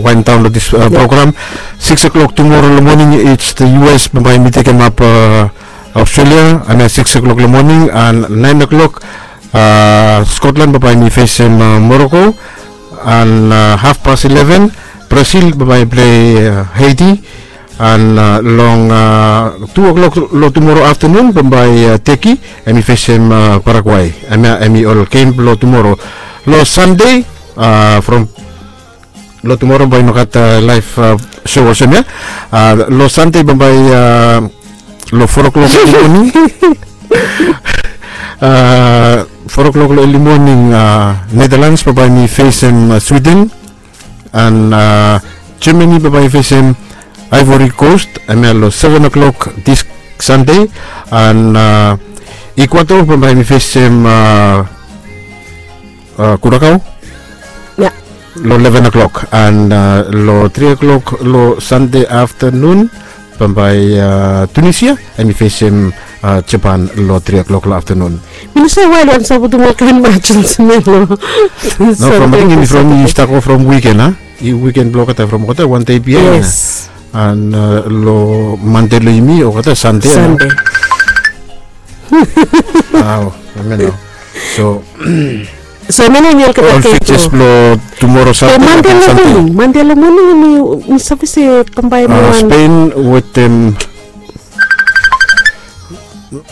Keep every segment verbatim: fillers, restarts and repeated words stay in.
waindaon long dis program. Sikis o'klok tumora long moning, it's the U S bambae mi tekemap Australia, hemia sikis o'klok long moning, and naen o'klok Scotland bambae mi fesem Morocco, and hafpas ileven Brazil bambae plei Haiti, and long tu o'klok long tumora aftenun bambae Turkey hemi fesem Paraguay. Hemia hemi ol gem blong tumora. Long Sande from long tumora bambae i no gat laef show olsem ia. Long Sande bambae long four o'clock early morning, four o'clock long early morning, Netherlands bambae mi fesem Sweden, and Germany bambae i fesem Ivory Coast, hemia long seven o'clock this Sunday, and Ecuador bambae mi fesem Curacao long eleven o'clock, and long three o'clock long Sande aftenun bambae Tunisia hemi fesem Japan long three o'clock long aftenun. Mi no save wae long sapotem ol kaen mats olsem ia long. No, from, ating hemi from, i stap go from wiken a, i wiken blong olgeta from olgeta wan dei biaen. Yes. And long Mande long yumi olgeta Sande. Sande. Wow, hemia nao. So, so hemia nao hemi olgeta ol gem fikses blong tumora Sande. Mande long moning, Mande long moning mi save se bambae mi wan Spain wetem,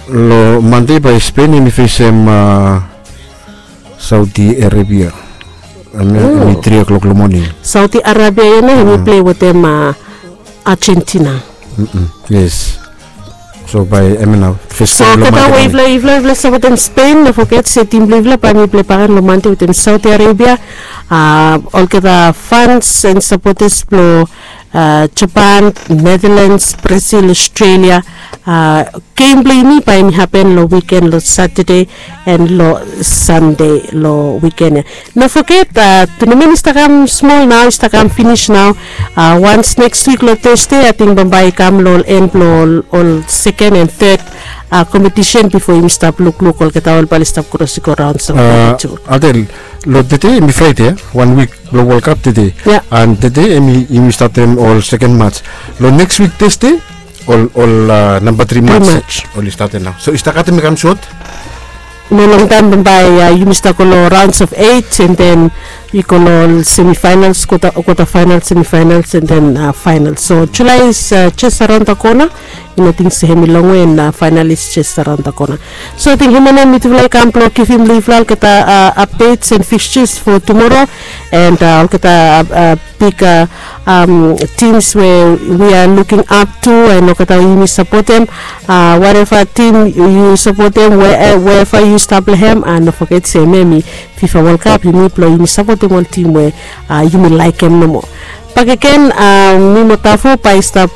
long Mande bae Spain hemi fesem Saudi Arabia. Hemia hemi three o'clock long moning. Saudi Arabia ia nao hemi plei wetem Argentina. Yes. So bae hemia nao fes. So olgeta we yufala, yufala, yufala sapotem Spain, no foget se tim blong yufala bae hemi plei bakegen long Mande wetem Saudi Arabia. Olgeta fans and sapotas blong Japan, Netherlands, Brazil, Australia, gem blong yumi bae hemi hapen long wiken long Satade and long Sande long wiken ia. No foget, tunamen i stap kam smol nao, i stap kam finis nao. Wans neks wik long Tasde ating bambae i kam long ol en blong ol seken and third competition bifo yumi stap lukluk olgeta ol bae oli stap kros i go raon. So Adel, long tede hemi Fraede, wan wik blong World Cup tede. And tede hemi, yumi statem ol seken mats. Long neks wik Tasde ol, ol namba tri mats oli statem nao. So i stap katem i kam sot. Long taem bambae yumi stap go long rounds of eight, and then i go long semifinals, quarter, quarter finals, semifinals, and then finals. So July is just around the corner. I no ting se hemi longwe, and final is just around the corner. So ating hemia nao mitufala i kam blong givim long yufala olgeta updates and fixtures for tomorrow, and olgeta big teams we we are looking up to, and olgeta we yumi sapotem, whatever team yu sapotem, wherever yu stap long hem, and no foget se hemia hemi FIFA World Cup, yumi blong yumi sapotem ol tim we yumi laekem nomo. Bakegen, mi mo Tafo bae i stap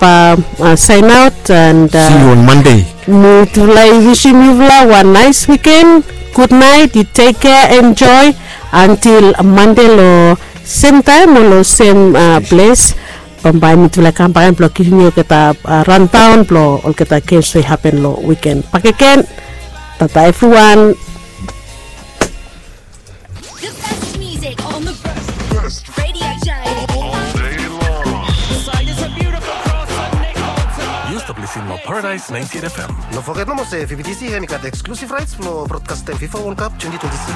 saen aot, and see you on Monday. Mitufala i wisim yufala wan naes wiken. Gudnaet, yu tek kea, enjoe until Mande long sem taem o long sem ples. Bambae mitufala i kam bakegen blong givim yu olgeta rundown blong olgeta gems we i hapen long wiken bakegen. Tata evriwan. The best music on the best radio show all day long. Yu stap lisin long Paradise ninety-eight F M. No foget nomo se V B T C hemi gat exclusive rights blong brodkastem FIFA World Cup twenty twenty-six.